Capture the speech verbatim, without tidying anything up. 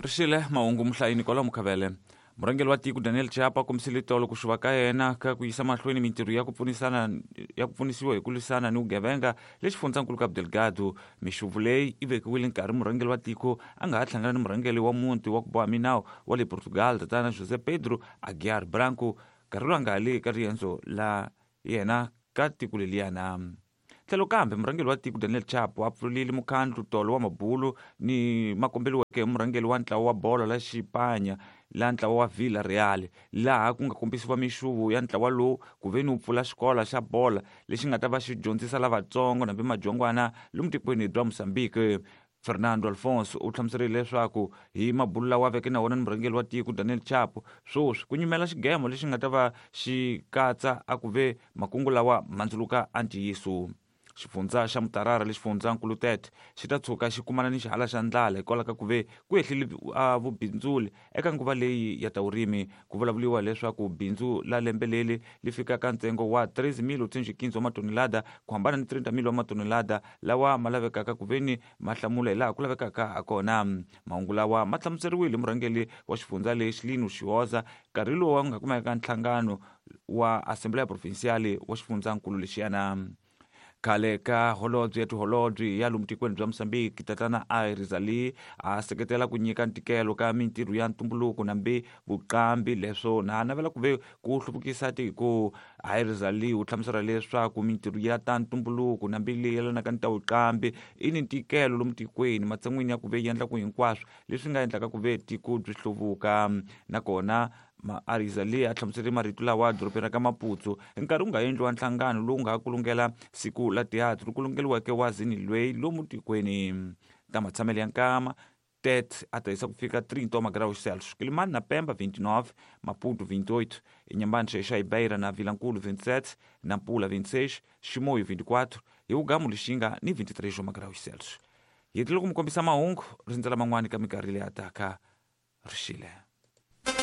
Rixile mahungu muhlayini kwalomu Khavele. Murhangeri wa tiko Daniel Chapo a kombisile tolo ku xuva ka yena ka ku yisa mahlweni mintirho ya ku pfunisana ya ku pfunisiwa hi ku lwisana ni vugevenga le xifundzankulu Cabo Delgado. Mixuvu leyi yi vekiwile nkarhi murhangeri wa tiko a nga ha hlangana ni murhangeri wa muti wa ku boha minawu wa le Portugal tatana José Pedro Aguiar Branco nkarhi lowu a nga ha le ka riendzo la yena ka tiko leliyana. Tlhelo kambe murhangeri wa tiko Daniel Chapo a pfulile mukhandlu tolo wa mabulu ni makombeliweke hi murhangeri wa ntlawa wa bolo la Xipanya la ntlawa wa Villarreal laha ku nga kombisiwa mixuvu ya ntlawa lowu ku ve ni wu pfula xikolo xa bola lexi nga ta va xi dyondzisa lavatsongo nambi madyongwana lomu tikweni bya Mozambique. Fernando Alfonso u hlamuserile leswaku hi mabulu lawa veke na wona ni murhangeri wa tiko Daniel Chapo swoswi ku nyumela xigemo lexi nga ta va xi katsa a ku ve makungu lawa mandzuluka a ntiyiso. Xifundza xa Mutarara lexi xifundzankulu Tete xi ta tshuka xi kumana ni xihala xa ndlala hikwalaho ka ku ve ku ehlile vubindzuli eka nguva leyi ya ta vurimi. Ku vulavuriwa leswaku bindzu la lembe leri li fikaka ntsengo wa treze mil oitocentos e quinze wa matonelada ku hambana ni trinta mil wa matonelada lawa ma lavekaka ku ve ni ma hlamula hi laha ku lavekaka hakona. Mahungu lawa ma hlamuseriwile murhangeri wa xifundza lexi Lino Xioza nkarhi lowu nga kumeka nhlangano wa Assembleia Provincial wa xifundzankulu lexiyana. Khale ka holobye ya tiholobye ya lomu tikweni bya Mozambique tatana Iris Ali a seketela ku nyika ntikelo ka mintirho ya ntumbuluko nambi vuqambi leswo na navela ku ve ku hluvukisa tiko. Iris Ali u hlamusela leswaku mintirho ya ta ntumbuluko nambi leyi yelanaka ni ta vuqambi i ni ntikelo lomu tikweni matshan'wini ya ku ve yi endla ku hinkwaswo leswi nga endlaka ku ve tiko byi hluvuka. Nakona Ariza leyi a hlamusele marito lawa dorobeni ra ka Maputo hi nkarhi wu nga endliwa nhlangano lowu nga kulungela siku la teatro kulungeliweke wa zini lweyi lomu tikweni. Ta matshamelo ya nkama Tete a ta yisa ku fika trinta wa magraus Celsius, Quelimane na Pemba vinte e nove, Maputo vinte e oito, Inhambane, Xai Beira na Vilankulo vinte e sete, Nampula vinte e seis, Chimoio vinte e quatro e Ugamu Lixinga ni vinte e três wa magraus Celsius. Hi tlhela ku mi kombisa mahungu rindzela man'wani ka minkarhi leyi taka. Rixile.